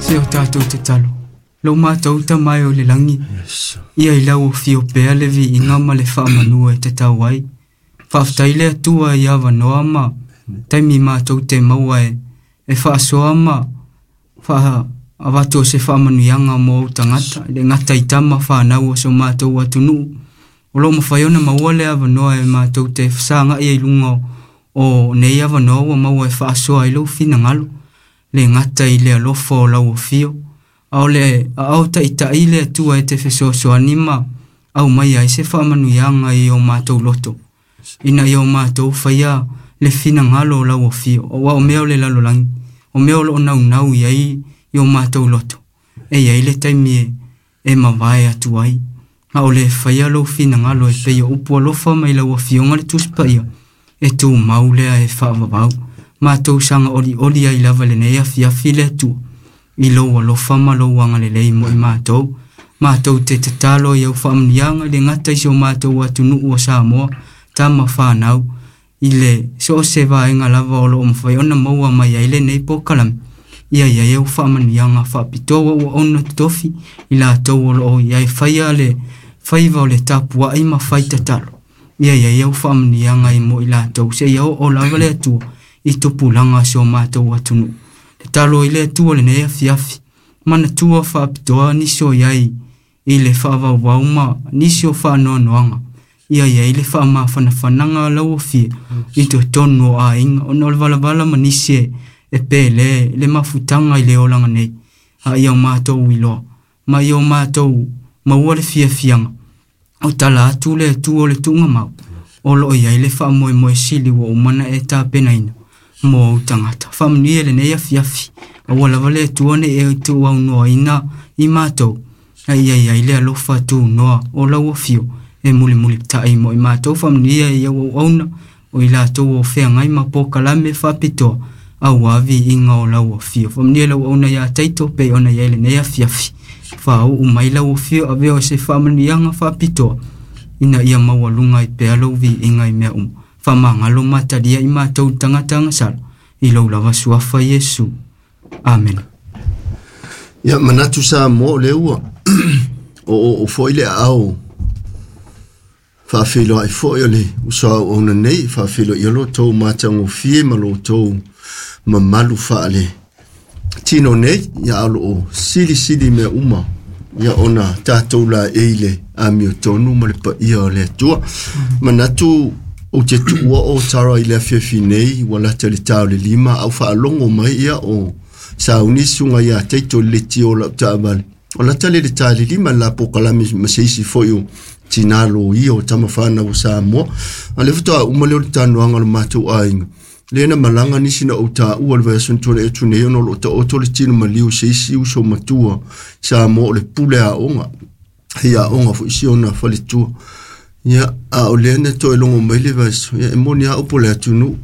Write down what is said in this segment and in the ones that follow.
Se o tātou tatalo. Lo mātou ta mai o le langi. Ia i lau o fio pea le vi inga ma le whaamanua e te tau ai. Whaaftai le atua i awa noa ma taimi mātou te maua e whaasoa ma wha avatu o se whaamanuianga mo au tangata. Le ngata i tama whanau o so mātou atunuu. O lo mawhai ona maua le awa noa e mātou te whasanga ia i lunga o nei awa noa ua maua e whaasoa i lau whinangalo. Le ngata i le alofa o lau o fio. Ao le au ta'itai le Atua e te fesoasoani ma au mai ai se faamanuiaga i o mātou loto. Ina ia o mātou faia le finagalo o lau afio. Auā o mea o le lalolagi, o mea o loo naunau i ai i o mātou loto. E iai le taimi e mavae atu ai. A o le faia lou finagalo e pei o upu alofa mai lau afioga le Tusi Paia e tumau lea e faavavau. Mātou saga olioli ai lava lenei afiafi le Atua. I lou alofa ma lou agalelei mo i mātou. Mātou te tatalo i au faamanuiaga i le gata i si o mātou atunuu o Samoa, tama whanau, i le so o se vaenga lava o loo mawhai ona maua mai ai lenei pōkalame. Ia ia au faamanuiaga faapitoa ua ona totofi i latou o loo ia e faia le faiva o le tapuai ma fai tatalo. Ia ia au faamanuiaga i mo i latou se ia o lava le Atua i tupulaga si o mātou atunuu. Talo i le Atua lenei afiafi, manatua faapitoa nisi o iai i le faavauvau ma nisi o faanoanoaga. Ia iai le faamafanafanaga lau afia i totonu o aiga ona o le valavala ma nisi e pele le mafutaga i le olaga nei. A ia o mātou iloa ma ia o mātou maua le fiafiaga o tala atu le Atua o le tuugamau o loo iai le faamoemoe sili ua uma na e tapenaina mo au tagata. Faamanuia lenei afiafi, aua lava le Atua nei e tuuaunoaina i mātou, a ia iai le alofa tunoa o lau afio e mulimulita'i mo i mātou. Faamanuia i au auauna o i latou o feagai ma pōkalame faapitoa auā viiga o lau afio. Faamanuia lau auauna iā Taito pei ona iai lenei afiafi. Faauu mai lau afio avea o se faamanuiaga faapitoa ina ia maualuga ai pea lou viiga i mea uma. Faamagalo matalia i mātou tagata agasala i lou lava suafa Iesu. Amen. Ia manatu sa mo le ua o foi le ao faafeiloai foi o le uso auauna nei, faafeiloai lo tou matagofie ma lo tou mamalu faale tino nei, ia ao loo silisili mea uma ia ona tātou la e i le amiotonu ma le paia o le Atua. Manatu o te tuua o tara i le afiafi nei, ua lata le tao le lima, au faalogo mai ia o sauni suga ia teito le leti o lau taavale. O lata le le tā le lima la pokalame ma se isi foi o tinā loia o tama whanau o Samoa. A le faatoa uma lea o le tanoaga o le matou aiga. Le na malaga nisi na ou taua le vaiaso na tuanai atu nei ona o loo taoto le tino maliu se isi uso matua Samoa o le pule aoga. Hei aoga foi si ona faletua. Ia, a o lea na toe logo mai le vaiaso, ia e moni a upu le atunuu.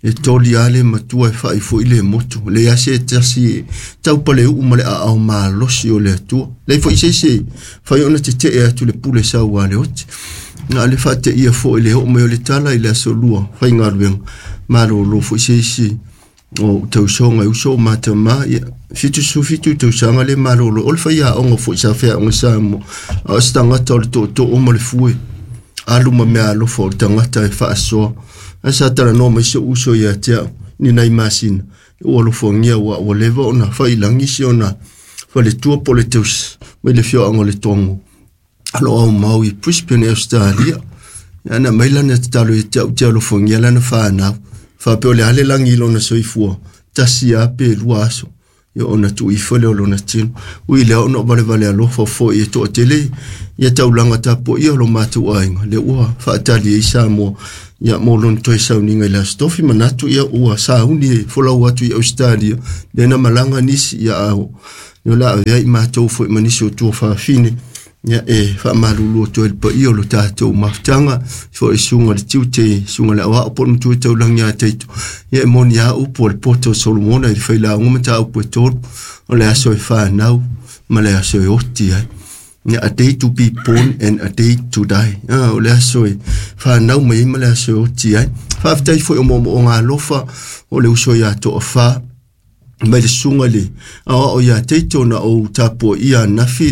E toli a le matua e fai foi le motu. Le ia se tasi taupale uu ma le aao malosi o le Atua. Lei foi se se fai ona te te atu le pule sau a le oti. Na le whaate ia foi le oo mai o le tala i le aso lua whai ngā Malolo foi se isi o tausoga uso o matama ia 77 tausaga le malolo o le fai aoga foi sa feaoga Samoa. A o se tagata o le tootoo ma le fue. Alu ma mea alofa o le tagata e faasoa. Ae sa talanoa mai se uso ia te au ni nai masina. Ua alofagia ua ua leva ona failagi si ona faletua po o le tausi mai le afioaga o le Togo. Alo au mau i Brisbane, Australia. Ia na mai lana tatalo ia te au te alofagia lana whanau. Whapea o le ale langi i lona soifua. Tasi a pe lua aso. Ia ona tuuifo le o lona tino. Ui lea ona o valevale alofa foi e toatele. Ia taulaga tapuaia o lo matou aiga. Le ua faatali ai Samoa. Ia mo lona toe sauniga i le aso tofi manatu ia ua sauni e folau atu i Australia. Le na malaga nisi ia ao. Ia o le a avea i matou foi ma nisi o tua faafine. Ia e faamalulu atu ai le paia o lo tatou mafutaga foi suga le tiute suga le aoao po o le matua taulagi ia Taito. Ia e moni a upu o le poto o Solomona i le failauga mataupu e tolu o le aso e whanau ma le aso e oti ai. Ia a day to be born and a day to die. O le aso e whanau mai ma le aso e oti ai. Faafetai foi o moomooga alofa o le uso ia Toafa. mai le susuga i le aoao ia Teito na ou tapuaia anafi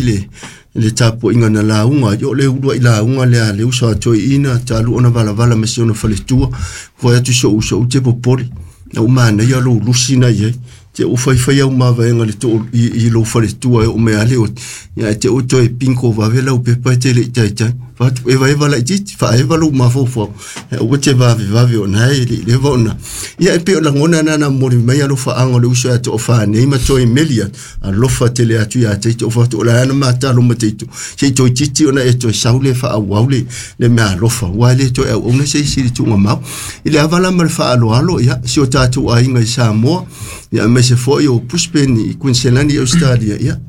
le tapuaiga na lauga ai o le uluai lauga lea a le uso a toeaina talu ona valavala ma si ona faletua fai atu si ou uso ou te popole na ou manaia lou lusi na i ai te ou faifai au mavaega le too i lou faletua e oo mai lava le oti ia e te ou toe pinko vave lau pepa e te le i taitai fatu eva laitiiti faaeva lou mafaufau aua te vavevave ona e le i leva ona ia e pei o lagona na na momoli mai alofaaga o le uso ia toafa nei ma toe meli atu alofa tele atu ia Teito o fatu o le ana matalo ma Teito sei toeitiiti ona e toe sau le faaauau le mea alofa ua le toe auauna se isi i le tuugamau i le ava la ma le faaaloalo ia si o tatou aiga i Samoa ia aemaise foi o Brisbane i Queensland i Australia ia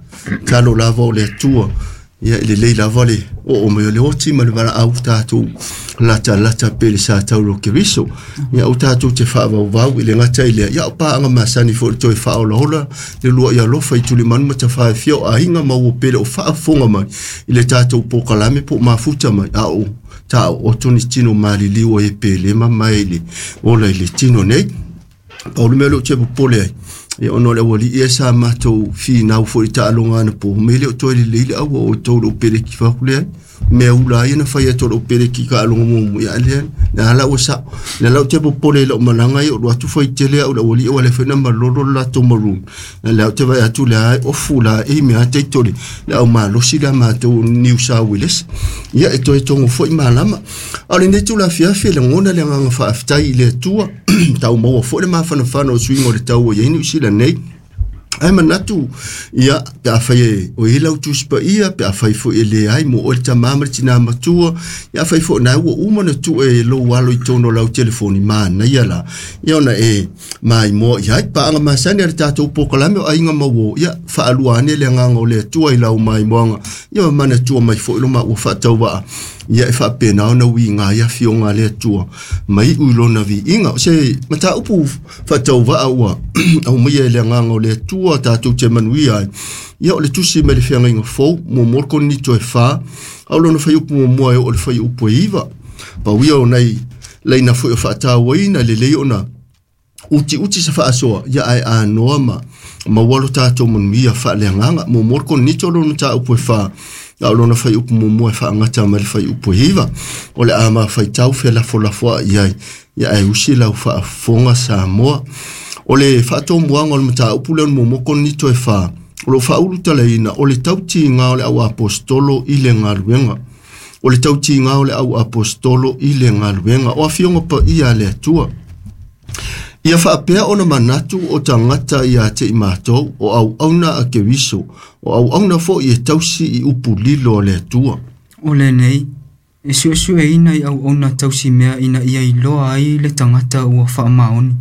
talo lava o le Atua ia e lelei lava le oo mai o le oti ma le valaau tatou latalata pe le sa taulo Keriso ia o tatou te faavauvau i le gata i lea ia o paaga masani foi le toe faaolaola le lua i alofa i tulimanu ma tafaefia o aiga ma ua pele o faafofoga mai i le tatou polokalame po o mafuta mai a o taooto ni tino maliliu ai e pele ma mae i le ola i le tino nei. Pau le mea lea ou te popole ai, ia ona o le aualii e sa matou finau foi i taaloga anapo, mea le o toe lelei le aua o outou lou peleki faaku leai. Mea ula ai na fai atu o lou peleki i taaloga muamua, ia lea, lea la ua sao. Lea la ou te popole i lau malaga ia o alu atu fai tele au i le aualii aua le fai na malolo le latou maroon. Lea ou te vaai atu lea e ofu la e mea teito le au malosi lea matou New South Wales. Ia e toe togo foi malama. A o lenei itula afiafi e lagona le agaga faafetai i le Atua tau maua foi le mafanafana o suiga o le tau ua i ai Niu Sila nei. Ae manatu, ia, pe afai e o i ai lau Tusi Paia, pe afai foi e leai mo oe le tamā ma le tinā matua, ia afai foi o na ua uma ona tuu e lou alo i totonu o lau telefoni, manaia la, ia ona e maimoa i ai. Paaga masani a le tatou polokalame o Aiga ma Uo, ia, faalua ane le agaga o le Atua i lau maimoaga, ia ma manatua mai foi lo maua faatauvaa, ia e faapena ona uiga ai afioga a le Atua ma iu i lona viiga. O se mataupu faatauvaa ua aumaia e le agaga o le Atua tatou te manuia ai, ia o le tusi mai le feagaiga fou, muamua le Korinito e 4, a o lona fuaiupu muamua e oo i le fuaiupu e 9. Pau ia o nai laina foi o faatauaina, lelei ona utiuti se faasoa, ia ae anoa ma maua lo tatou manuia faaleagaga. Muamua le Korinito lona mataupu e 4, a o lona fuaiupu muamua e faagata mai le fuaiupu e 9. O le a mafaitau felafolafoai i ai, ia ae usi lau faafofoga Samoa. O le faatomuaga o le mataupu lea o le muamua Korinito e 4, o lo o faaulutalaina o le tautiga o le au aposetolo i le galuega. O le tautiga o le au aposetolo i le galuega. O afioga paia a le Atua. Ia faapea ona manatu o tagata ia te i matou, o auauna a Keriso, o auauna foi e tausi i upu lilo a le Atua. O lenei, e suesueina i auauna tausi mea ina ia iloa ai le tagata ua faamaoni.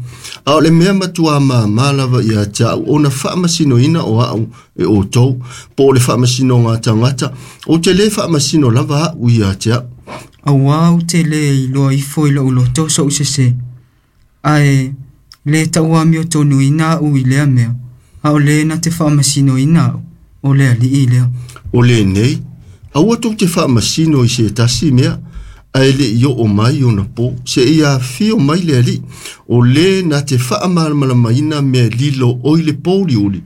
A o le mea matua māmā lava ia te au, ona faamasinoina o au e outou, po o le faamasinoga a tagata, ou te lē faamasino lava au ia te au. Auā ou te lē iloa ifo i lou loto so'u sesē, ae lē tauamiotonuina a'u i lea mea, a o lē na te faamasinoina a'u, o le Alii lea. O lenei, aua tou te faamasino i se tasi mea, ae le i oo mai ona po, seia afio mai le Alii, o lē na te faamalamalamaina mea lilo oi le pouliuli,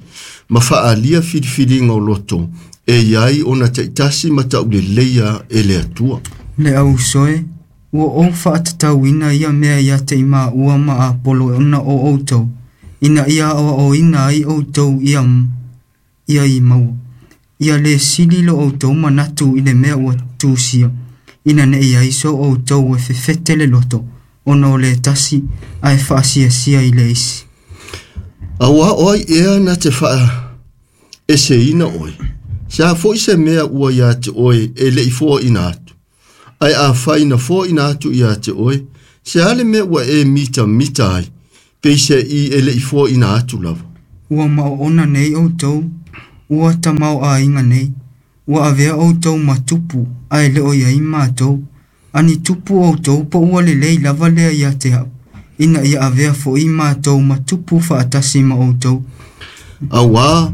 ma faaalia filifiliga o loto, e i ai ona taitasi ma tauleleia e le Atua. Le au uso e, ua ou faatatauina ia mea ia te i maua ma Apolo ona o outou, ina ia aoaoina ai outou ia i maua. Ia lē sili lo outou manatu i le mea ua tusia, ina ne'i ai so outou e fefete le loto, ona o le tasi, ae faasiasia i le isi. Auā o ai ea na te faaeseina oe, se a foi se mea ua ia te oe e le i foaina atu, ae afai na foaina atu ia te oe, se a le mea ua e mitamita ai, peiseai e le i foaina atu lava. Ua maoona nei outou, ua tamaoaiga nei, ua avea outou ma tupu, ae le o i ai matou. A ni tupu outou po ua lelei lava lea ia te au, ina ia avea fo'i matou ma tupu faatasi ma outou. Auā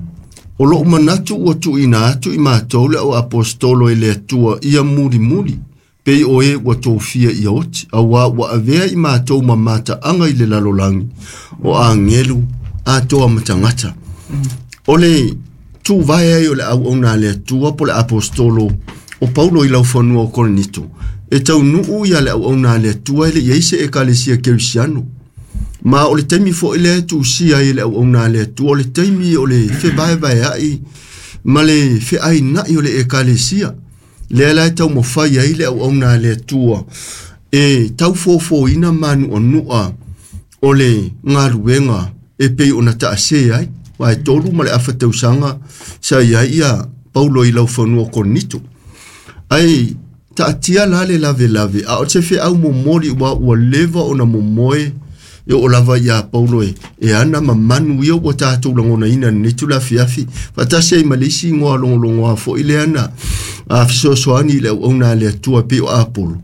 o lou manatu ua tuuina atu i matou le au aposetolo e le Atua ia mulimuli, pei o e ua tofia ia oti, auā ua avea i matou ma mataaga i le lalolagi, o agelu atoa ma tagata. O le tuvae ai o le auauna a le Atua po o le Aposetolo o Paulo i laufanua o Korinito, e taunuu ia le auauna a le Atua e le i ai se ekalesia kerisiano. Ma o le taimi foi lea e tuusia ai e le auauna a le Atua, o le taimi o le fevaevaeai ma le feaina'i o le ekalesia. Lea la e taumafai ai le auauna a le Atua e taufofoina manu'anu'a o le galuega e pei ona taasē ai. Aua e 3 ma le afa tausaga sa i ai ia Paulo i laufanua o Korinito. Ae taatia la le lavelave, a o se feau momoli ua ua leva ona momoe e oo lava iā Paulo e ana ma manu ia ua tatou lagonaina i lenei tulafiafi. Faatasi ai ma le isi igoa logologoa foi lea na fesoasoani i le auauna a le Atua e pei o Apolo.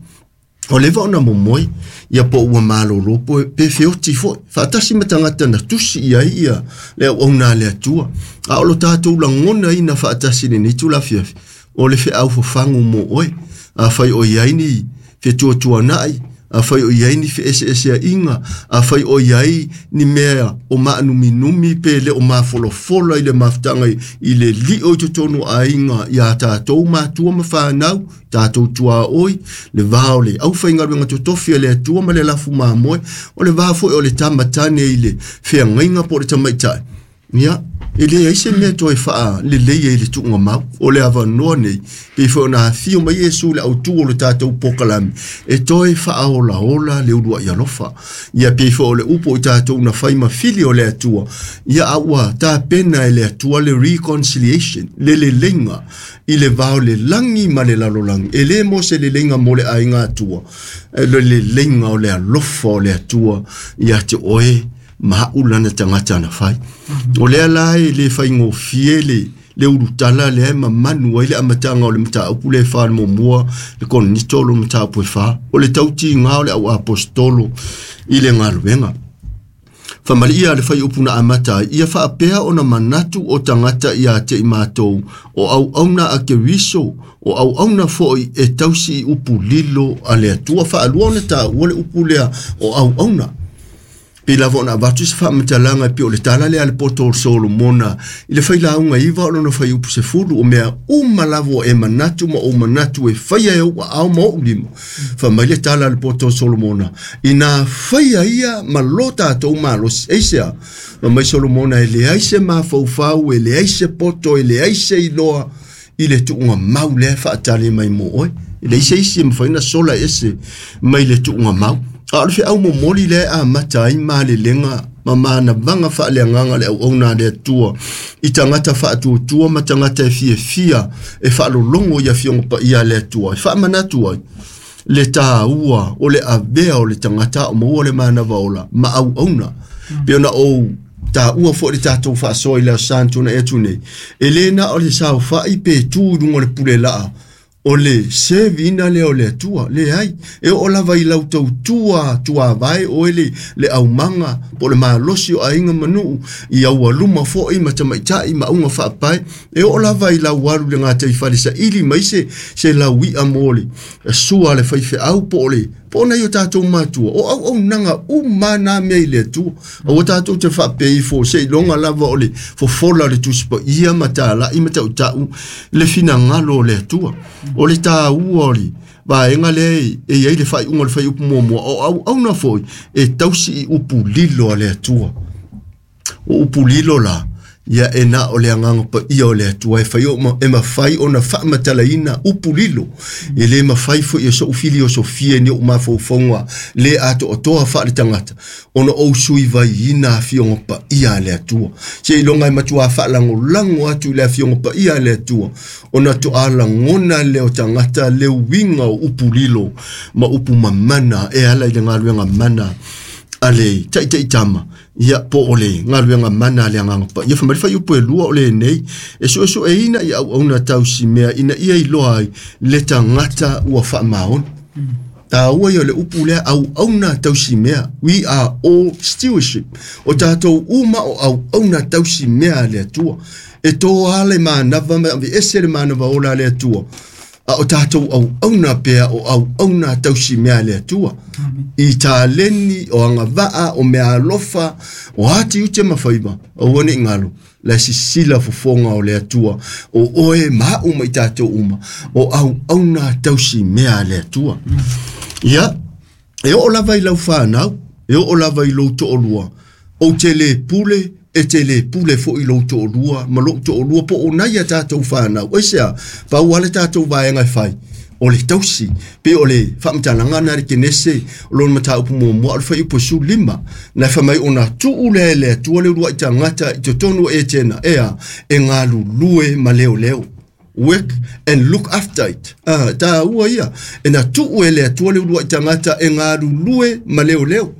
O leva ona momoe ia po ua malolo pe feoti foi faatasi ma tagata na tusi i ai ia le auauna a le Atua. A o lo tatou lagonaina faatasi i lenei tulafiafi, o le feau fafagu mo oe. Afai o i ai ni fetuatuanai, afai o i ai ni feeseeseaiga, afai o i ai ni mea o maanuminumi pe le o mafolafola i le mafutaga i le lio i totonu o aiga iā tatou matua ma fanau, tatou tuaoi, le va o le aufaigaluega totofi a le Atua ma le lafu mamoe, o le va foi o le tamatane i le feagaiga po o le tamaitai. Ia, e leai se mea toe faalelei ai i le tuugamau. O le avanoa nei, pei foi ona afio mai Iesu i le autū o le tatou pokalame, e toe faaolaola le uluai alofa. Ia, pei foi o le upu o i tatou na fai ma fili o le Atua, ia a ua tapena e le Atua le reconciliation, le leleiga i le va o le lagi ma le lalolagi. E lē mo se leleiga mo le aiga Atua, e le leleiga o le alofa o le Atua ia te oe ma a'u lana tagata na fai. O lea la e le faigofie le ulutala lea e mamanu ai le amataga o le mataupu le fa le muamua le Korinito o le mataupu e 4, o le tautigā o le au aposetolo i le galuega. Faamaliia le faiupu na amata ai, ia faapea ona manatu o tagata iā te i matou o auauna a Keriso, o auauna foi e tausi i upu lilo a le Atua. Faalua ona taua le upu lea o auauna. Pei lava ona avatu se faamatalaga e pei o le tala lea a le poto o Solomona i le failauga 9 o lona faiupu 10, o mea uma lava ua e manatu ma ou manatu e faia e ou aao ma ou lima. Faamai le tala a le poto o Solomona, inā faia ia ma lo tatou malosi. Aisea? Faamai Solomona, e leai se mafaufau, e leai se poto, e leai se iloa i le tuugamau lea e faatali mai mo oe. E leai se isi e mafai ona sola ese mai le tuugamau. A o le feau momoli lea e amata ai malelega ma manavaga faaleagaga le auauna a le Atua i tagata faatuatua ma tagata e fiafia e faalologo i afioga paia a le Atua, e faamanatu ai le tāua o le avea o le tagata o maua le manava ola ma auauna. Pe ona ou taua foi le tatou faasoa i le aso Sa na tuanai atu nei, e lē na o le saofa'i pe tū i luga o le pule laa o le seviina lea o le Atua. Leai, e oo lava i lau tautua tuavae oe le aumaga po o le malosi o aiga ma nuu i aualuma foi ma tamaita'i ma auga faapae. E oo lava i lau alu i le gataifale saili mai se laui'a mo le sua a le faifeau po o le po o nai o tatou matua. O auaunaga uma na mea i le Atua. Aua tatou te faapea ifo seiloga lava o le fofola o le Tusi Paia ma tala'i ma ta'uta'u le finagalo o le Atua. O le tāua o le vaega lea e i ai le faaiuga o le faiupu muamua, o auauna foi e tausi i upu lilo a le Atua. O upu lilo la, ia e na o le agaga paia o le Atua e fai e mafai ona faamatalaina upu lilo. E lē mafai foi e so'u filiosofia ni ou mafaufauga lē atoatoa faaletagata ona ou suivaiina afioga paia a le Atua. Seiloga e matuā faalagolago atu i le afioga paia a le Atua ona toā lagona lea o tagata le uiga o upu lilo ma upu mamana e ala i le galuega mana a le taʻitaʻitama, ia po o le galuega mana a le agaga paia. Faamai le faiupu e 2 o lenei, e suesueina i auauna tausimea ina ia iloa ai le tagata ua faamaoni. Tāua ia o le upu lea auauna tausimea. We are all stewardship. O tatou uma o auauna tausimea a le Atua. E toa le manava ma aveese le manava ola a le Atua. A o tātou auauna pea o auauna tausi mea le Atua. I taleni o agavaa o mea alofa o ati ute ma faiva aua ne i galo la sisila fofoga o le Atua o oe ma a'u ma i tatou uma o auauna tausi mea le Atua. Ia, e oo lava i lau fanau, e oo lava i lou to'olua, ou te lē pule, e te lē pule fo'i lou to'olua ma lo'u to'olua po o nai a tatou fanau. Aisea? Pau lava le tatou vaega e fai o le tausi, pei o le faamatalaga na le Kenese o lona mataupu muamua o le fuaiupu 15, na fai mai ona tuu lea e le Atua le uluai tagata i totonu o Etena, ea, e galulue ma leoleo. Work and look after it. Ah, tāua ia, e na tuu e le Atua le uluai tagata e galulue ma leoleo.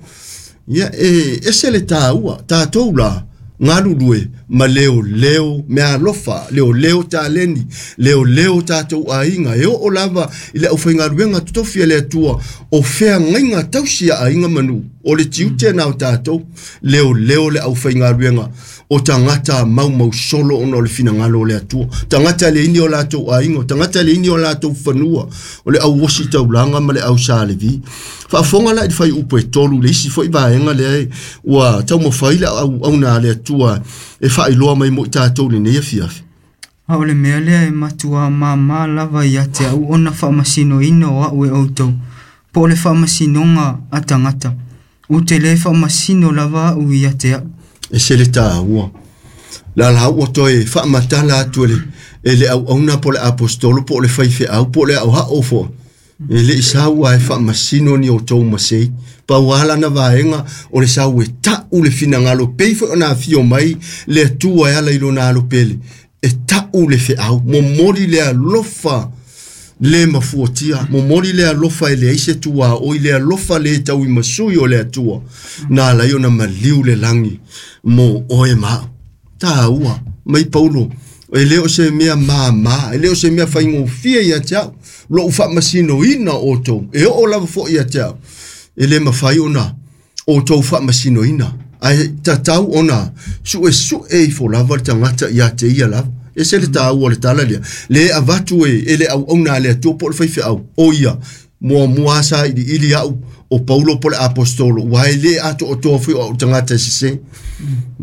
Ia, e ese le tāua, tātou la, galulue ma leoleo mea alofa, leoleo taleni, leoleo tātou aiga, e oo lava i le aufaigaluega totofi a le Atua o feagaiga tausi a aiga ma nuu, o le tiute na o tātou, leoleo le aufaigaluega o tagata maumausolo ona o le finagalo o le Atua, tagata e leai ni o latou aiga, o tagata e leai ni o latou fanua, o le auosi taulaga ma le au Sa Levi. Faafofoga la i le fuaiupu e 3 le isi fo'i vaega lea ua taumafai le auauna a le Atua e faailoa mai mo i tatou lenei afiafi. A o le mea lea e matuā māmā lava ia te a'u ona faamasinoina o a'u e outou, po o le faamasinoga a tagata. Ou te lē faamasino lava a'u ia te a'u. E se le tāua. La la ua toe faamatala atu e le auauna po o le apostolo po o le faifeau po o le aoao fo'i. E le i sau a e faamasino ni outou masei. Pau lava lana vaega o le sau e ta'u le finagalo pei foi ona afio mai le Atua e ala i lona alo pele. E ta'u le feau, momoli le alofa le mafuatia, momoli le alofa e leai se tuaoi, le alofa le tauimasui o le Atua. Na ala ai ona maliu le lagi mo oe ma a'u. Tāua, mai Paulo, e le o se mea māmā, e le o se mea faigofie ia te a'u, lo'u faamasinoina outou, e oo lava fo'i ia te a'u, e le mafai ona outou faamasinoina, ae tatau ona su'esu'e ifo lava le tagata ia te ia lava. E se le tāua o le tala lea, le avatu e le auauna a le Atua po o le faifeau, o ia, muamua sa iliili a'u o Paulo po o le apostolo, ua e lē atoatoa foi o a'u tagata e sesē.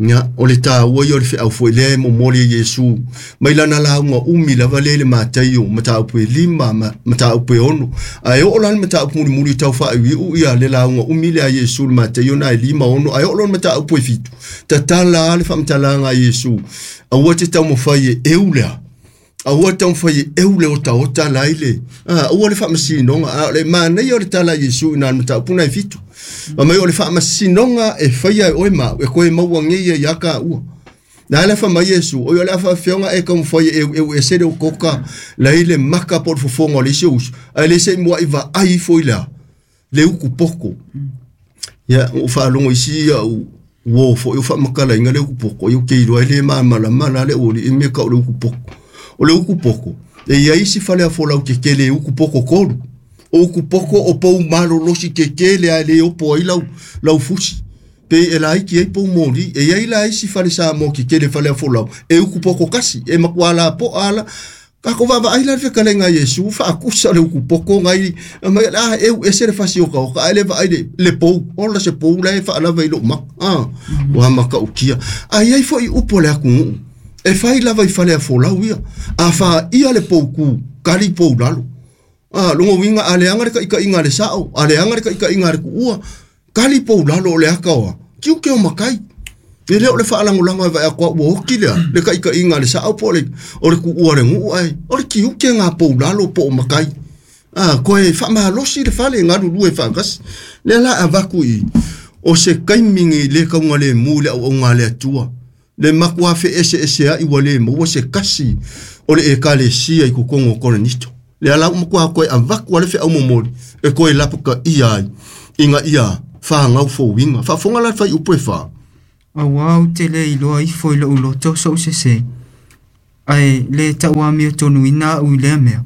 Ia, o le tāua ia o le feau foi lea e momoli e Iesu mai lana lauga umi lava lea i le Mataio mataupu e 5 ma mataupu e 6. Ae oo la le mataupu mulimuli tau faaiuiu ia le lauga umi lea a Iesu le Mataio na e 5, 6, ae oo loa le mataupu e 7, tatala le faamatalaga a Iesu, aua te taumafai e eu lea. Aua te taumafai e eu le otaota la i le aua le faamasinoga, a o le manaia o le tala a Iesu i na le mataupu na e 7. Ma mai o le faamasinoga e faia e oe ma a'u, e koe maua nei ia ia ka ua. Na le fa mai Iesu, o le afa fionga e taumafai e eu eu ese le okoka la i le maka po o le fofoga o le isi uso, ae le se i mua'i vaai ifo i lea, le uku poko. Ia, ua faalogo isi a'u uō fo'i o faamatalaina le uku poko, ia ou te iloa e lē malamalama la le auali'i mea ta'u o le uku poko. O le uku poko, e iai isi fale afolau tetele e uku poko tolu. O uku poko o pou malolosi tetele ae lē opo ai lau, lau fusi. Pe e laiti ai pou moli, e iai la isi fale Samoa tetele fale afolau, e uku poko kasi, e matua lapo'a ala. Tatou vaavaai la le fetalaiga a Iesu faakusa le uku poko nai mai la eu ese le fasi oka ae le vaai le pou, ola se pou la e faalava i lo'u maka. Ua mata'utia. Ae iai fo'i upu a le atunuu, e fai lava i fale afolau ia, a fā'ia le poukū, kali pou lalo. Logo uiga a leaga le ta'ita'iga a le sa'o, a leaga le ta'ita'iga a le tu'ua, kali pou lalo o le ata oa, tiute o matai. E le o le faalagolago e vaai atu ua oti lea, le ta'ita'iga a le sa'o po o le tu'ua o le nuu, ae o le tiute gā pou lalo po o matai. Koe faamalosi le fale galulue faatasi. Lea la avatu i o se taimi nei lē taugalemu i le auauga a le Atua. Le matuā fe'ese'esea'i ua lē maua se kasi o le ekalesia i totonu o Korenito. Lea la ua matuā toe avatu a le feau momoli e toe lapata'ia ai ina ia fāgau fouiga. Faafofoga la le fuaiupu e 4. Auā ou te lē iloa ifo i lo'u loto so'u sesē, ae lē ta'uamiotonuina a'u i lea mea,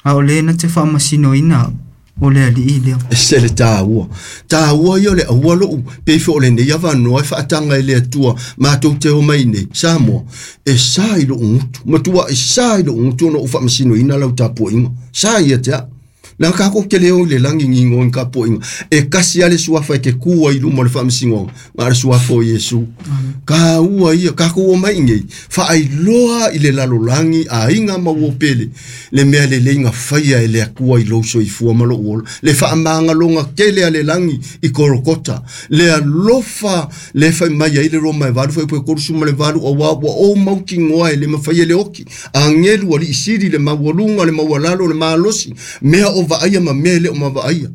a o lē na te faamasinoina a'u, O le alii lea. E se le tāua. Tāua ia o le aua lou, pe fo o lenei avanoa e faataga i le Atua, matou te omai nei, Samoa, e sa i lou gutu, matua e sa i lou gutu ona ou faamasinoina lau tapuaiga. Sa ia te au. Na kākou te leo i le lagi ngigo i tapuaiga. E kasi a le suafa e te ku ai i luma o le faamasinoga, na o le suafa o Iesu. Kāua ia, kākou omai i nei, faailoa i le lalolagi aiga ma uo pele, le mea lelei na faia e le Atua i lou soifua ma lou ola, le faamagaloga tele a le lagi i Kolokota, le alofa le fai mai ai le Roma e 8 fuaiupu e 38, auā ua ou mautinoa e le mafai e le oti, agelu alii sili le maualuga, le maualalo, le malosi, mea o vaaia ma mea e le o mavaaia.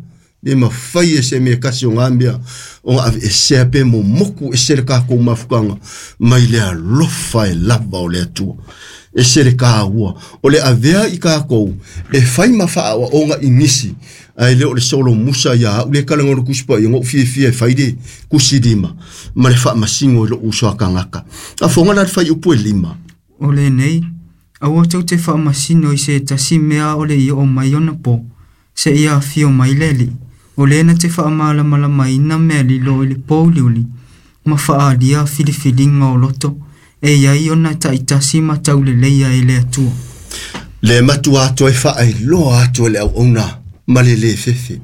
Le mafai e se mea kasi o ngā mea o ngā ave e sea pe momoku e se le kākou mafukanga mai le alofa e lava o le Atua. E se le kāua o le avea i kākou e fai ma faaoaoga i nisi ae le o le solo musa ia au le kalaga o le Tusi Paia ngou fiafia e fai le kusi lima ma le faamasino i lou uso a kagaka. Afoga la le fuaiupu e 5. O lenei, aua tou te faamasino i se tasi mea o le i oo mai ona po, seia afio mai le alii, o le na te faamalamalamaina mea lilo i le pouliuli, ma faaalia filifiliga o loto, e iai ona taitasi ma tauleleia e le Atua. Le matua atu e faailoa atu e le auauna ma le lē fefe.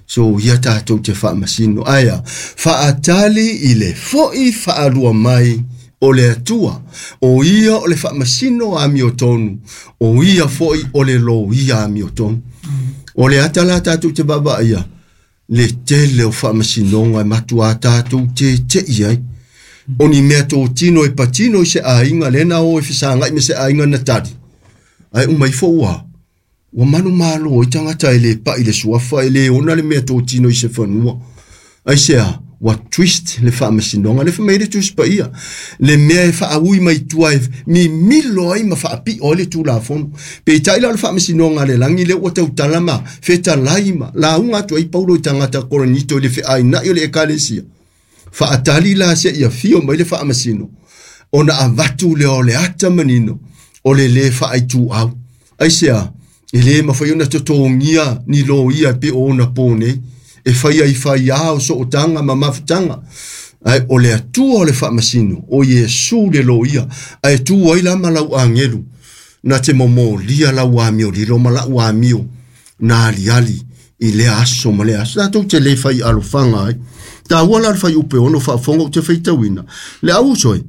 So ia tātou te faamasino. Aia, faatali i le fo'i faalua mai o le Atua. O ia o le faamasino amiotonu. O ia fo'i o le loia amiotonu. O le ata la tātou te vaavaaia, le tele o faamasinoga e matuā tātou tete'i ai. O ni mea totino e patino i se aiga, lena o e fesagai ma se aiga na tali. Ae uma ifo ua, ua manumalo ai tagata e le pa'i le suafa, e le ona le mea totino i se fanua. Aisea, ua twist le faamasinoga, le fai mai le Tusi Paia, le mea e faaui mai tua e mimilo ai ma faapio ai le Tulafono. Peitai la o le faamasinoga a le lagi lea ua tautala ma fetalai ma lauga atu ai Paulo i tagata Korinito i le feaina'i o le Ekalesia. Faatali la seia fio mai le faamasino, ona avatu lea o le ata manino o le lē faaituau. Aisea, e lē mafai ona totogia ni loia e pei o ona pō nei, e fai ai faiā o sootaga ma mafutaga. Ae o le Atua o le faamasino, o Iesu le loia, ae tu ai la ma lau agelu, na te momolia lau amiolilo ma la'u amio, na aliali i lea aso ma lea aso. Tatou te lē fai alofaga ai. Tāua la le fuaiupu e 6 faafofoga ou te faitauina. Le au uso e,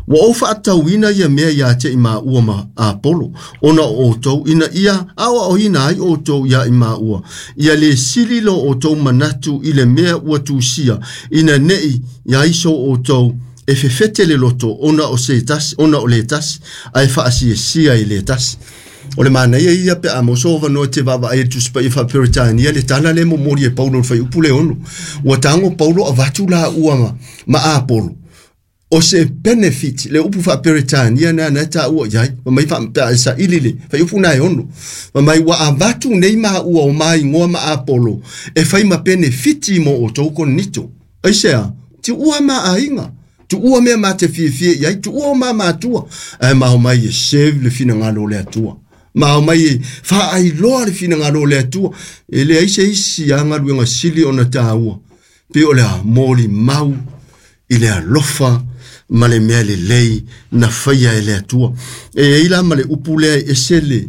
ua ou faatauina ia mea iā te i maua ma Apolo, ona o outou, ina ia aoaoina ai outou iā i maua, ia lē sili lo outou manatu i le mea ua tusia, ina ne'i iai so outou e fefete le loto ona o se tasi, ona o le tasi, ae faasiasia i le tasi. O le manaia ia pe a maua so avanoa e te vaavaai i le Tusi Paia faa-Peretania le tala lea e momoli e Paulo i le fuaiupu le 6. Ua tago Paulo avatu laua ma Apolo. O se benefit le upu faa-Peretania na na e taua i ai. Ma mai pe a e saili le fuaiupu na e 6. Ma mai ua avatu nei maua o maigoa ma Apolo e fai ma benefiti mo outou Korinito. Aisea, tuua ma aiga. Tuua mea ma te fiafia i ai, tuua o ma matua. Ae ma omai e serve le finagalo o le Atua. Ma omai e faailoa le finagalo o le Atua. E leai se isi a galuega sili ona tāua. Pe o le a molimau i le alofa ma le mea lelei na faia e le Atua. E ai la ma le upu lea e ese le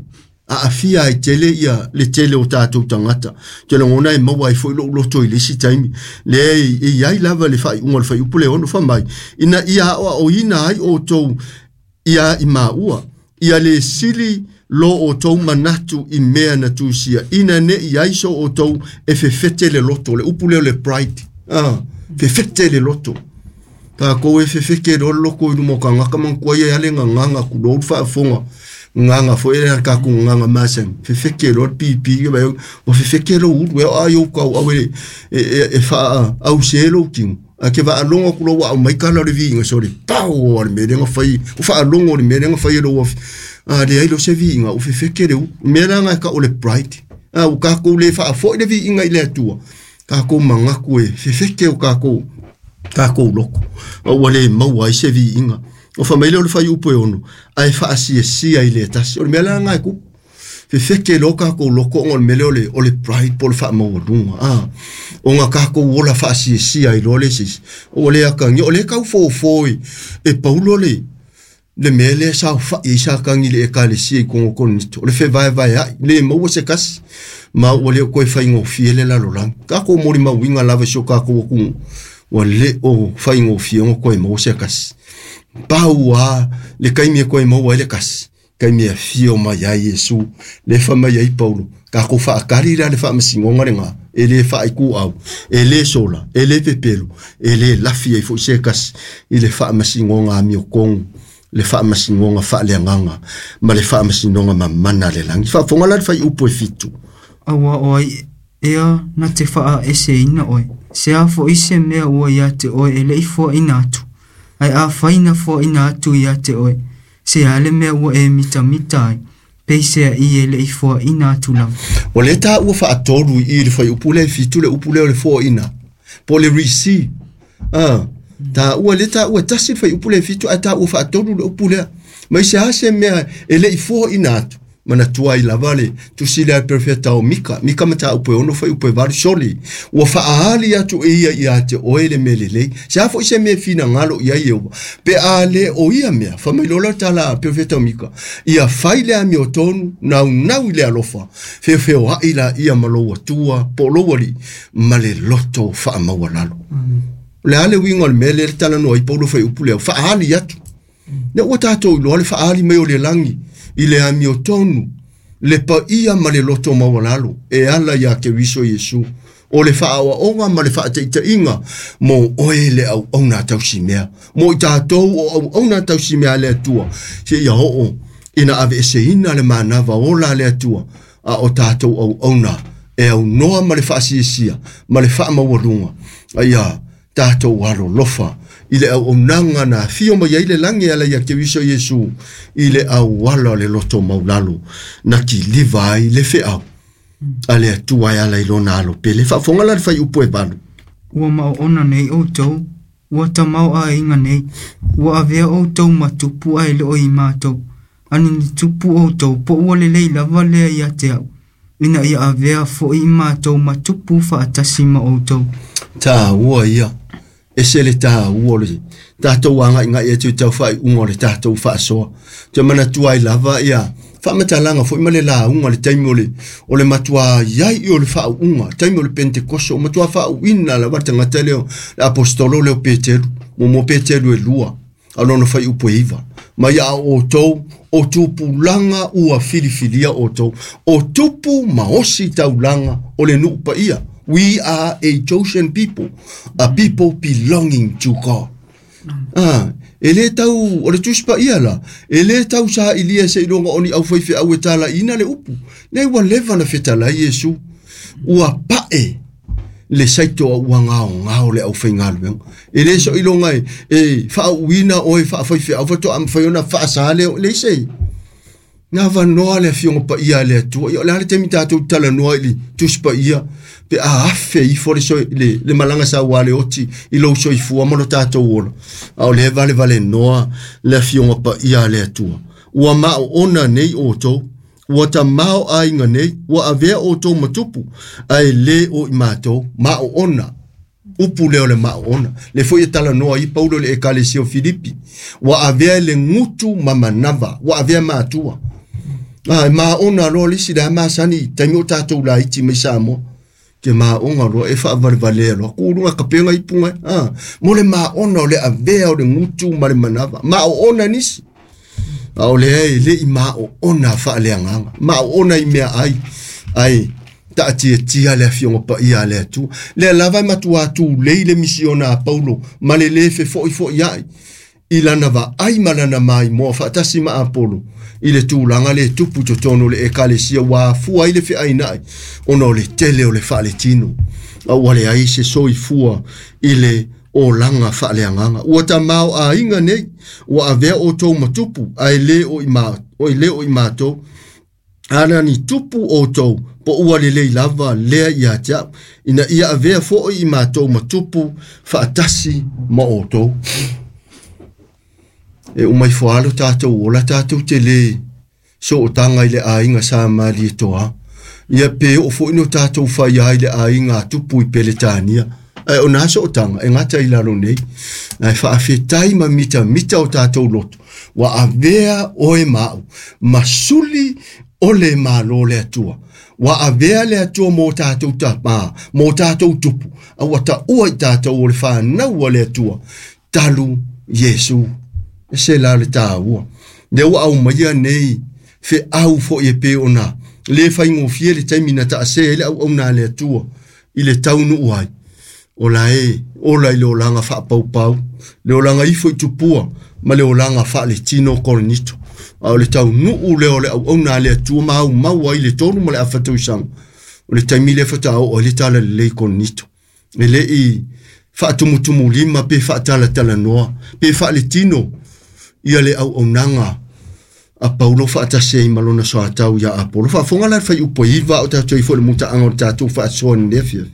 aafia ai tele ia le tele o tātou tagata. Te lagona e maua ai foi lou loto i le isi taimi. Lea e iai lava le faaiuga o le fuaiupu le 6 fai mai. Ina ia aoaoina ai outou ia i maua. Ia le sili lo outou manatu i mea na tusia. Ina ne'i ai so outou e fefete le loto. Le upu lea o le pride. Fefete le loto. Tākou e fefeke loa le loko i luma o kagaka manatua ia e ale gagaga kulou le faafofoga. Gagaga foi le kākou gagaga masani. Fefeke loa le pipi ke mai ua fefeke lou ulu e o a iou kauau e e faaause lou tino. Ae ke vaalogo atu loa ua aumai kala o le viiga sole pau o le mea lea na fai. Ua faalogo i le mea lea na fai e lou afi. A leai loa se viiga ua fefeke le ulu. Mea la na e tau o le pride. A ua kākou le faafoi le viiga i le Atua. Kākou manatu e fefeke o kākou kākou loko. A ua le maua ai se viiga. O fai mai lea o le fuaiupu e 6, ae faasiasia i le tasi. O le mea la na e kupu. Fefeke loa kākou loko ona o le mea lea o le pride po o le faamaualuga, a. Ona kākou ola faasiasia ai loa le isi isi. Ua le atagia, o lea e tau fofo e Paulo le le mea lea e saofai ai Satani i le Ekalesia i totonu o Korinito, o le fevaevaea'i, le maua se tasi, ma ua le o toe faigofie le lalolagi. Tatou molimauina lava i si o tatou atunuu, ua le o faigofie ona toe maua se tasi. Pau lava le taimi e toe maua ai le tasi, taimi e afio mai ai Iesu, lea e fai mai ai Paulo, tatou faatali la le faamasinoga lena, e le faaituau, e le sola, e le pepelo, e le lafi ai foi se tasi i le faamasinoga amiotonu, le faamasinoga faaleagaga, ma le faamasinoga mamana a le lagi. Faafofoga la le fuaiupu e 7. Aua o ai ea na te faaeseina oe, se a foi se mea ua ia te oe e le i foaina atu, ae afai na foaina atu ia te oe, se a le mea ua e mitamita ai, peiseai e le i foaina atu lava. O lea taua faatolu i i le fuaiupu lea e 7 le upu lea o le foaina, po o le receive. Ah, taua lea taua e tasi le fuaiupu lea e 7 ae taua faatolu le upu lea. Ma i se a se mea e le i foaina atu, manatua ai lava le tusi lea a le perofeta o Mika, Mika mataupu e 6 fuaiupu e 8, sole, ua faaali atu e ia ia te oe le mea lelei. Se a foi se mea e finagalo i ai Ieova, pe a le o ia mea, fai mai loa le tala a perofeta o Mika, ia fai le amiotonu, naunau i le alofa, feofeoai laia ma lou Atua po o lou Alii, ma le loto faamaualalo. O le a le uiga o le mea lea le talanoa ai Paulo fuaiupu lea, faaali atu. Lea ua tatou iloa le faaali mai o le lagi i le amiotonu, le paia ma le loto maualalo e ala iā Keriso Iesu, o le faaoaoga ma le faataitaiga mo oe le auauna tausimea, mo i tatou o auauna tausimea a le Atua, seia oo ina aveeseina le manava ola a le Atua, a o tatou auauna e aunoa ma le faasiasia ma le faamaualuga, a ia tatou alolofa i le auaunaga na afio mai ai le lagi e ala ia Keriso Iesu i le auala o le loto maulalo na kiliva ai le feau a le Atua e ala i lona alo pele. Faafofoga la le fuaiupu e 8. Ua maoona nei outou, ua tamaoaiga nei, ua avea outou ma tupu ae le o i matou, ani ni tupu outou po ua lelei lava lea ia te au, ina ia avea foi i matou ma tupu faatasi ma outou. Taua ia, ese le taua o le tatou agaigai atu i tau faaiuga o le tatou faasoa. Te manatua ai lava ia faamatalaga foi ma le lauga le taimi o le o le matua iai i o le faauuga, taimi o le Pentekoso, o matua faauuina lava le tagata lea, le apostolo lea o Peteru, mo Peteru e 2, a lona fuaiupu e 9. Ma ia a outou, o tupulaga ua filifilia outou, o tupu ma osi taulaga o le nuu paia. We are a chosen people, a people belonging to God. Ah, e le tau, o le Tusi Paia la, e le tau sailia seiloga o ni aufaifeau e talaiina le upu. Lea ua leva na fetalai Iesu, ua pae le saito a ua gaogao le aufaigaluega. E le soiloga e faauuina oe faafaifeau faatoa mafai ona faasa lea, leai se. Na avanoa le afioga paia a le Atua. Ia o le a le taimi tatou talanoa i le Tusi Paia, pe a afe ifo le, le, le malaga saua le oti i lou soifua ma lo tatou ola. A o lea valevale noa le afioga paia a le Atua. Ua maoona nei outou, ua tamaoaiga nei, ua avea outou ma tupu, ae le o i matou, maoona. Upu lea o le maoona. Le foi e talanoa ai Paulo i le Ekalesia o Filipi. Ua avea le gutu ma manava, ua avea matua. Ah, e maona loa le isi le a masani i taimi o tatou laiti mai Samoa. Ke maona loa e faavalevalea loa. Kuluga kapenga ipuga. Ah, mo le maona o le avea o le gutu ma le manava. Maoona nisi. A o lea e le i maoona faaleagaga. Maoona i mea ai. Ai, taatiatia le afioga paia a le Atua. Lea lava e matua tulei le misiona a Paulo ma le le fefoifoiai i lana vaai ma lana maimoa faatasi ma Apolo i le tulaga le tupu i totonu o le Ekalesia ua afua ai le feainai ona o le tele o le faaletino. A ua leai se soifua i le olaga faaleagaga. Ua tamaoaiga nei, ua avea outou ma tupu, ae le o i ma, o le o i matou. Ana ni tupu outou, po ua lelei lava lea ia te au, ina ia avea foi i matou ma tupu faatasi ma outou. E uma ifo lava lo tatou ola, tatou te le Sootaga i le aiga sa Malietoa. Ia pe oo foi no tatou faia ai le aiga a tupu i Peletania. Ae o na sootaga e gata i lalo nei. Ae faafetai ma mitamita o tatou loto. Ua avea oe ma au ma suli o le Malo le Atua. Ua avea le Atua mo tatou tama, mo tatou tupu. A ua taua i tatou o le fanau a le Atua. Talu Iesu. E se la le tāua. Lea ua aumaia nei feau foi e pei ona le faigofie le taimi na taasē ai le auauna a le Atua i le taunuu ai. O la e ola i le olaga faapaupau, le olaga ifo i tupua ma le olaga faaletino Korinito. A o le taunuu lea o le auauna a le Atua ma aumau ai le 3 ma le afa tausaga. O le taimi lea faatoa oo ai le talalelei i Korinito. E le i faatumutumulima pe faatalatalanoa pe faaletino ia le auaunaga a Paulo faatasi ai ma lona soatau ia Apolo. Faafofoga la le fuaiupu e 9 o tatou ai foi le mutaaga o le tatou faasoa i lenei afiafi.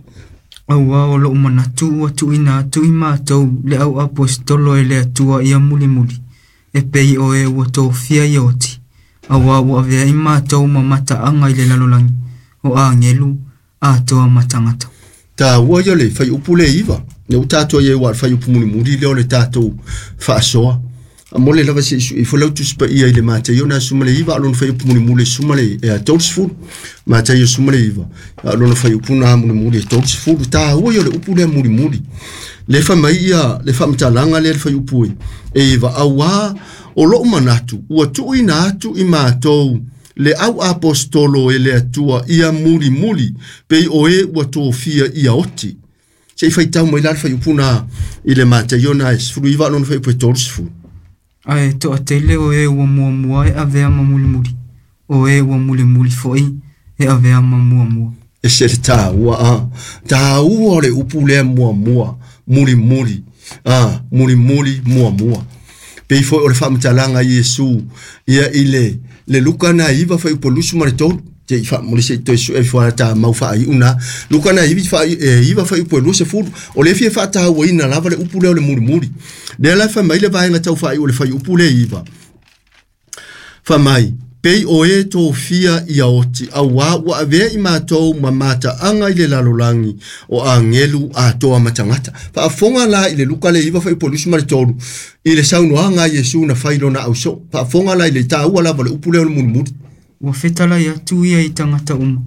Auā o lo'u manatu ua tuuina atu i matou le au aposetolo e le Atua ia mulimuli, e pei o e ua tofia ia oti, auā ua avea i matou ma mataaga i le lalolagi, o agelu atoa ma tagata. Taua ia o le fuaiupu le 9. Lea ua tatou i ai aua o le fuaiupu mulimuli lea o le tatou faasoa. A mo le lava se i sui ifo lau Tusi Paia i le Mataio na 19 a o lona fuaiupu mulimuli e 30. Mataio 19 a o lona fuaiupu na mulimuli e 30. Taua ia o le upu lea mulimuli. Le fai mai ia le faamatalaga lea le fuaiupu e 9, auā o lo'u manatu ua tuuina atu i matou le au aposetolo e le Atua ia mulimuli pei o e ua tofia ia oti. Se i faitau mai la le fuaiupu na i le Mataio na 19 a o lona fuaiupu e 30. Ae toatele o e ua muamua e avea ma mulimuli, o e ua mulimuli foi e avea ma muamua. E se le taua a. Taua o le upu lea muamua, mulimuli. A, mulimuli muamua. Pei foi o le faamatalaga a Iesu ia i le Luka na 9 fuaiupu 23. Te i faamuli se i toe sue ifo ala tā mau faaiu na. Luka na 9 fuaiupu 20. O le fia faatauaina lava le upu lea o le mulimuli. Lea la fai mai le vaega tau faaiu o le fuaiupu le 9. Fai mai, pei o e tofia ia oti, auā ua avea i matou ma mataaga i le lalolagi o agelu atoa ma tagata. Faafofoga la i le Luka le 9 fuaiupu 23 i le saunoaga a Iesu na fai lona ausoo. Faafofoga la i le taua lava o le upu lea o le mulimuli. Ua fetalai atu ia i tagata uma,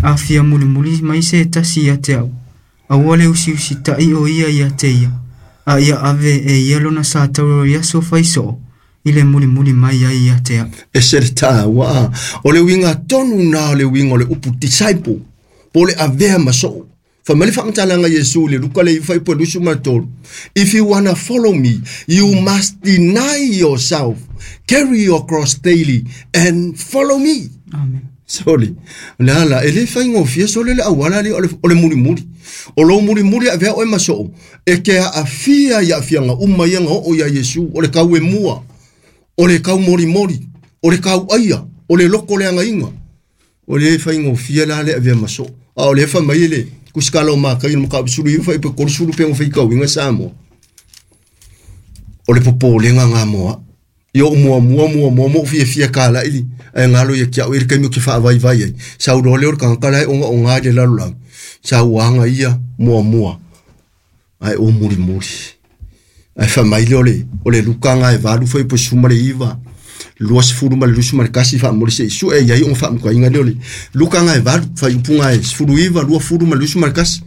a fia mulimuli mai se tasi ia te au, aua le usiusita'i o ia ia te ia, a ia ave e ia lona sa tauroro i aso faisoo, i le mulimuli mai ai ia te au. E se le taua a. O le uiga tonu na o le uiga o le upu disciple, po o le avea ma soo. Fai mai le faamatalaga a Iesu i le Luka le 9 fuaiupu 23. If you wanna follow me, you must deny yourself, carry your cross daily and follow me. Amen. Sole, o le a la, e le faigofie sole le auala lea o le mulimuli. O lou mulimuli e avea oe ma soo, e te aafia i aafiaga uma ia na oo iā Iesu, o le kau e mua, o le kau molimoli, o le kau aia, o le loko le agaiga. O le faigofie la le avea ma soo. A o le fai mai le kusikala o Mataio le mataupu 19 fuaiupu 30 pe faitauina Samoa. O le popolega ngā moa. Ia o muamua muamua mo fiafia kalaʻi ae galo ia te au i le taimi ou te faavaivai ai. Sau loa lea o le tagata la e ogaoga i le lalolagi. Sau aga ia muamua ae o mulimuli. Ae fai mai lea o le Luka ga e 8 fuaiupu 19 20 ma le 21 faamuli se i sue i ai ona faamukaina lea o le Luka ga e 8 fuaiupu ga e 19 20 ma le 21.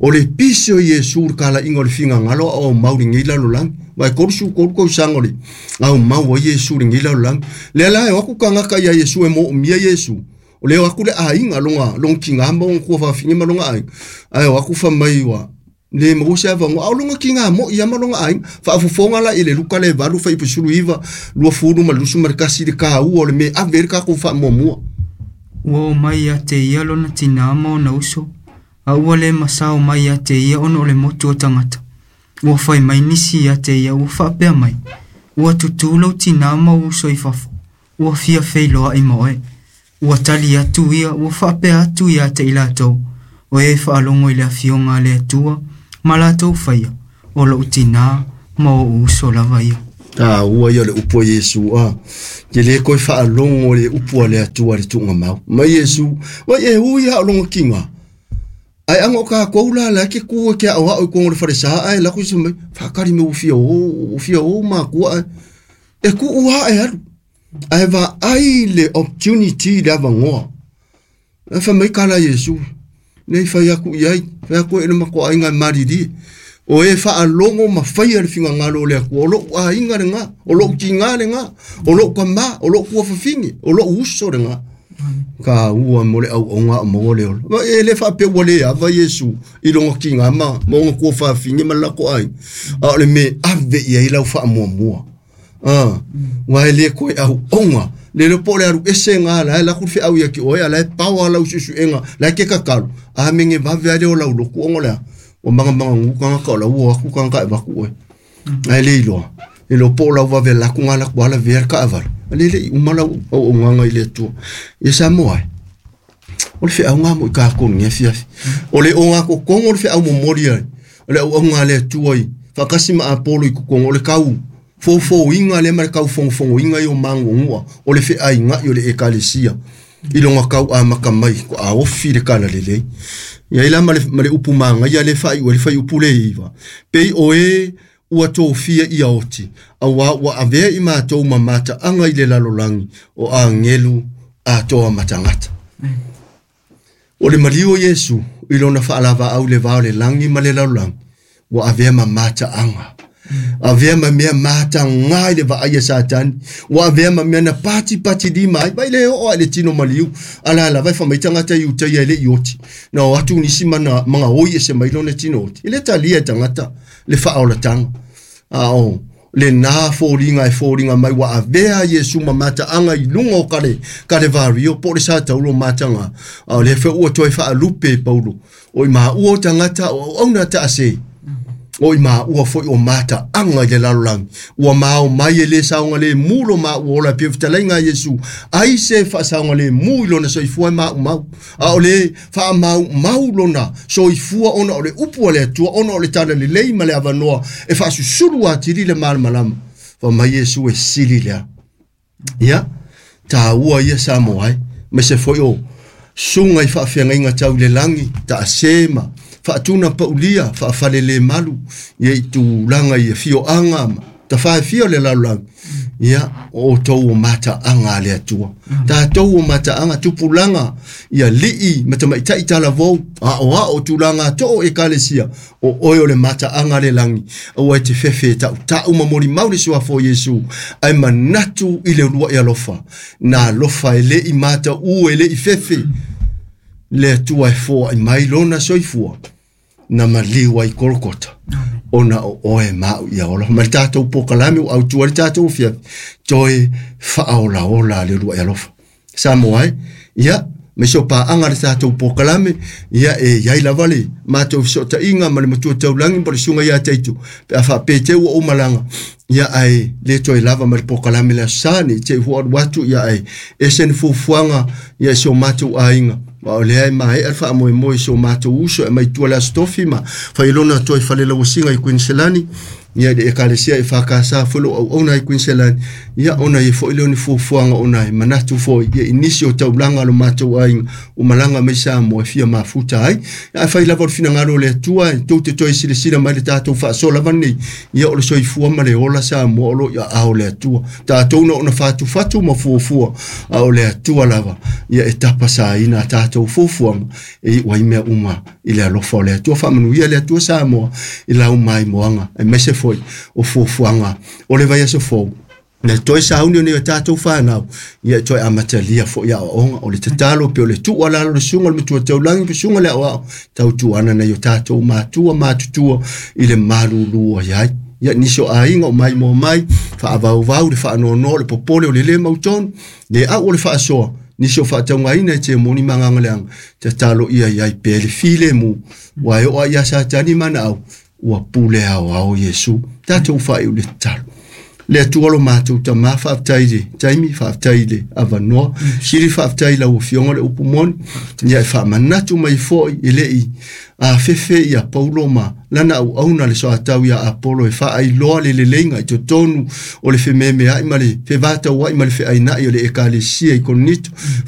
O le pisi o Iesu le kalaiga o le figagalo a o aumau i lenei lalolagi. Aua e 33 tausaga o le aumau ai Iesu i lenei lalolagi. Lea la e o atu tagata ia Iesu e moomia Iesu. O lea o atu le aiga lona tina ma ona tuafafine ma lona aiga. Ae o atu fai mai ua le maua se avanoa. A o lona tina moi ia ma lona aiga. Faafofoga la i le Luka le 8 fuaiupu 19 20 ma le 21 i le taua o le mea e ave ai le tatou faamuamua. Ua oo mai ia te ia lona tinā ma ona uso, a ua le masao mai ia te ia ona o le motu o tagata. Ua fai mai nisi ia te ia ua faapea mai, Ua tutū lou tinā ma ou uso i fafo, ua fia feiloa'i ma oe. Ua tali atu ia, ua faapea atu ia te i latou, o e faalogo i le afioga a le Atua ma latou faia, o lo'u tinā ma o'u uso lava ia. Taua ia o le upu a Iesu a. Te le koe faalogo le upu a le Atua i le tuugamau. Mai Iesu, vai e ui a o longa kinga. Ai anga o kākou la la ke ku e ke ao ao i kongo le wharesa ai la kuisa mai whakari me ufia o ufia o makua ai. E ku ua e alu. Ai va ai le opportunity le avangoa. E wha mai kala Iesu. Nei whai aku i ai. Whai aku e nama ko ainga mariri. O e whaalongo ma whaia le whinga ngalo le aku. O lou ainga le ngā. O lou tinga le ngā. O lou kama. O lou kuawhawhingi. O lou uso le ngā. Ka ua mo le au onga o mo le olo. Ma e le whape ua le ava Iesu i longa ki ngā ma. Ma onga kuawhawhingi ma lako ai. A o le me ave i ai lau wha mua mua. Wa e le koe au onga. Le le po le aru ese ngā la e laku whia au ia ki oe a la e pawa lau susu enga. La e ke kakalu. A menge vave ale o lau loku ongo lea. O manga manga ngu kanga ka o lau o aku kanga ka e waku oe. Ai le iloa. E lo po lau vave laku ngā laku ala vea ka avala. Ale le i umala au o nganga i le atua. Ia sa moa e. O le whia au ngā mo i kā konu ngia fiafi. O le o ngā kokongo o le whia au momori ai. O le au au ngā le atua i. Whakasi ma Apollo i kokongo o le kau. Fofo inga le ma le kau fongofongo inga i o mangu ngua. O le whia inga i o le ekalesia. I longa kau a makamai ko a ofi le kala lelei. Ia ila ma le upu manga ia le whai o le whai upu le iwa. Pei o e ua tōfia i aoti. A wā ua avea i mātou ma mata anga i le lalolangi o a ngelu a toa matangata. O le malio Iesu i lona whaalava au le vao le langi ma le lalolangi. Ua avea ma mata anga. Avea ma mea mata ngai le vaai a Satani. Ua avea ma mea na pati pati lima ai. Vai le o a le tino maliu. Ala ala vai whamai tangata i utai ai le i oti. Na o atu nisi mana manga oi e se mai lona tino oti. I le talia e tangata le whaolatanga. A o le nā fōringa e fōringa mai wa avea Iesu ma mata anga i lunga o kare, kare vario po le sa taulo matanga. A o le whe ua toi whaalupe Paulo. O i maha ua o tangata o au nā taase. O i maha ua foi o mata anga i le lalolangi. Ua maao mai e le saonga le mulo ma ua ola pia fitalenga Iesu. Ai se whaasaonga le mu i lona soifua e mau mau. A o le wha mau mau lona soifua ona o le upu a le atua ona o le tala le lei ma le avanoa. E whaasusuru a tiri le malamalama. Wha mai Iesu e sili lea. Ia, tā ua ia sa moai. Me se foi o sunga i whaawhianga inga tau le langi, ta asema. Whaatuna paulia, whaafale le malu, ia i tūlanga i fio anga, ta whae fio le lalulangi. Ia, o tau o mata anga le atua. Ta tau o mata anga, tupulanga, ia lii, mata maitai tala vau, a o a o tūlanga tō e kalesia, o oe o le mata anga le langi. O e te whewhe tau tau mamori mauri suafo Iesu, ai manatu i le lua i alofa. Nā lofa e le i mata u e le i whewhe. Le atua e fōa i mai lona soifua. Na maliu ai Kolkota. Ona o oe mau ia ola. Ma le tātou pokalame o au tua le tātou fia. Toe whaola ola le lua i alofa. Sa moai, ia, me so pa anga le tātou pokalame, ia e iai lava le mātou sota inga ma le matua taulangi po le sunga ia teitu. Pe a wha pe te ua o malanga. Ia ai le toe lava ma le pokalame le asani, te hua watu ia ai. E sen fufuanga ia so mātou ainga. Ma o lea e mahe alfa a moe moe so mātou uso e mai tua le astofi ma whailona toi whale lawasinga i Queensland. Ia le ekalesia e whakasa whelo au ona i Queensland. Ia ona i fo ile ni fufuanga ona i manatu fo ia inisi o taulanga lo mātou ainga o malanga mai sa mo e fia mafuta ai. Ia whai lava o le whina le atua e tau te toi sile sila mai le tātou whaasola vani. Ia o le soifua ma le ola sa mo olo ia ao le atua. Tātou na ona whatu whatu ma fuafua a o le atua lava. Ia e tapasa ina tātou fuafuanga e wai mea uma i le alofa o le atua. Whamanu ia le atua sa moa i lau mai moanga. E mese foi o fuafuanga o le vai aso fou. Le toi sauni o nei o tātou whānau, ia toi amatalia fo ia onga, o le tatalo pe o le tua lalo le sunga le matua taulangi pe sunga le au ao, tau tuana nei o tātou mātua mātutua i le malulua iai. Ia niso ainga o mai mo mai, whaavauvau le whaanono le popole o le le mautonu, le au o le whaasoa, niso whaataungaina e te moni manganga leanga, tatalo ia iai pe le file mu, wai o ia sa tani mana au, ua pule au au Iesu, tātou whai o le talo. Le Atua lo matou Tamā, faafetai i le taimi, faafetai i le avanoa. Sili faafetai i lau Afioga le upu moni, ia e faamanatu mai foi e le i afefe ia Paulo ma lana auauna le soatau ia Apolo e faailoa le leleiga i totonu o le fememeai ma le fevatauai ma le feainai o le ekalesia i Korinito.